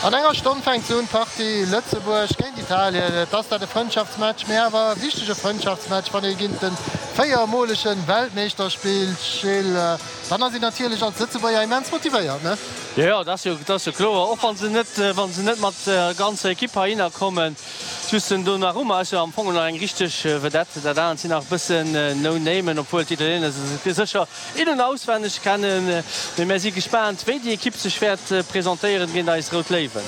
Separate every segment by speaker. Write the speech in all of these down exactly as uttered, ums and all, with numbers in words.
Speaker 1: An enger Stonn fänkt se un, d'Partie Lëtzebuerg géint Italien. Et ass dat e Frëndschaftsmatch, mee awer e wichtege Frëndschaftsmatch. Wann ee géint de véiermolege Weltmeeschter spillt, Gilles, dann ass een natierlech als Lëtzebuerger immens motivéiert, ne?
Speaker 2: Jo, jo, dat ass jo, dat ass jo kloer. Och wa se net, wa se net mat der ganzer Ekipp heihinner kommen. Just den Donnarumma ass jo am Fong nach eng richteg Vedette. Dat anert sinn nach e bëssen No-Namen, obwuel d'Italiener se sécher in an auswenneg kennen. Mee mär si gespaant, wéi déi Ekipp sech wäert presentéieren géint eis Rout Léiwen.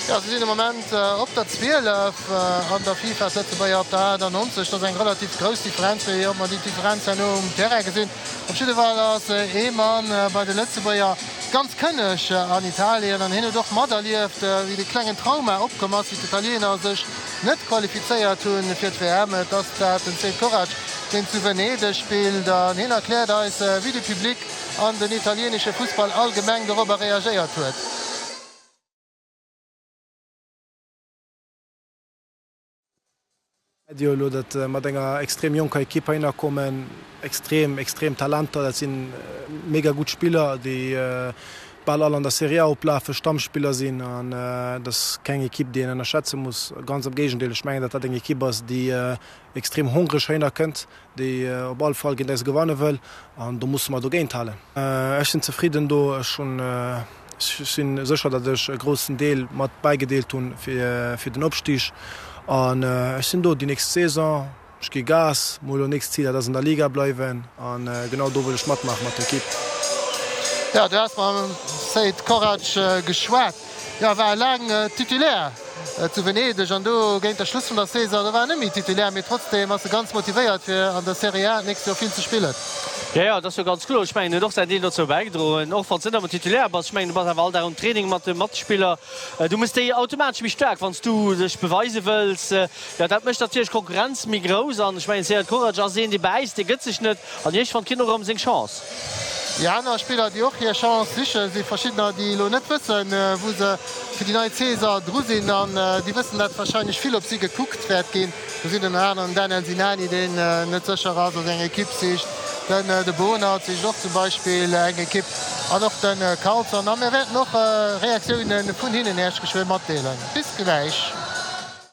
Speaker 1: Jo, se sinn de Moment op der zwielef an der FIFA, d'Lëtzebuerger op der aachtannonzeg. Dat ass eng relativ grouss Differenz, wéi ob mer déi Differenz herno um Terrain gesinn. Op jidde Fall ass ee Mann bei de Lëtzebuerger ganz kënneg an Italien an hien huet och materlieft, wéi de klengen Trauma opkomm ass, wéi d'Italiener sech net qualifizéiert hunn fir d'WM. Et ass dat den Sead Korac, deen zu Venedeg spillt an hien erkläert eis, wéi de Public an den italienesche Fussball allgemeng dorobber reagéiert huet.
Speaker 3: Jo elo dat mat enger extrem jonker Ekipp heihinner kommen, extrem extrem Talenter, dat si mega gutt Spiller, déi bal all an der Serie A oplafen, Stammspiller sinn an dat ass keng Ekipp, déi een ënnerschätze muss. Ganz am Géigendeel, ech mengen, datt dat eng Ekipp ass, déi extrem hongreg heihinner kënnt, déi op all Fall géint eis gewanne wëll an do musse mer dogéint halen. Ech sinn zefridden do, ech hunn Ech sinn sécher, datt ech e groussen Deel mat bäigedeelt hunn fir den Opstig an ech sinn do déi nächst Saison. Ech gi Gas, mol elo nächst Zil, dat ass an der Liga bleiwen an genau do wëll ech matmaache mat der Ekipp.
Speaker 1: Jo, du has mam Seid Korac geschwat. Jo, war laang Titulaire zu Venedeg an do géint der Schluss vun der Saison, do war en net méi Titulaire, mee trotzdeem ass e ganz motivéiert fir an der Serie A d'nächst Joer vill ze spillen.
Speaker 2: Jo, jo, dat ass jo ganz kloer. Ech mengen, en huet och säin Deel dozou bäigedroen, och wann s de net ëmmer Titulaire bass. Ech mengen, du bass awer all Dag um Training mat de Matspiller. Du méchs déi automatesch méi staark, wann s du dech beweise wëlls. Jo, dat mécht natierlech d'Konkurrenz méi grouss. An ech mengen, Sead Korac ass een, dee bäisst, dee gëtt sech net. An iergendwann kritt en och erëm seng Chance.
Speaker 1: Déi aner Spiller, déi och hir Chance sichen, si verschiddener, déi elo net wëssen, wou se fir déi nei Saison dru sinn. An déi wëssen, datt warscheinlech vill op si gekuckt wäert ginn. Do sinn ënner anerem den Daniel Sinani, deen net sécher ass a seng Ekipp sicht, den de Bohnert sicht och zum Beispill eng Ekipp an och de Carlson. A mir wäerten och Reaktioune vun hinnen Iech geschwë matdeelen. Bis gläich.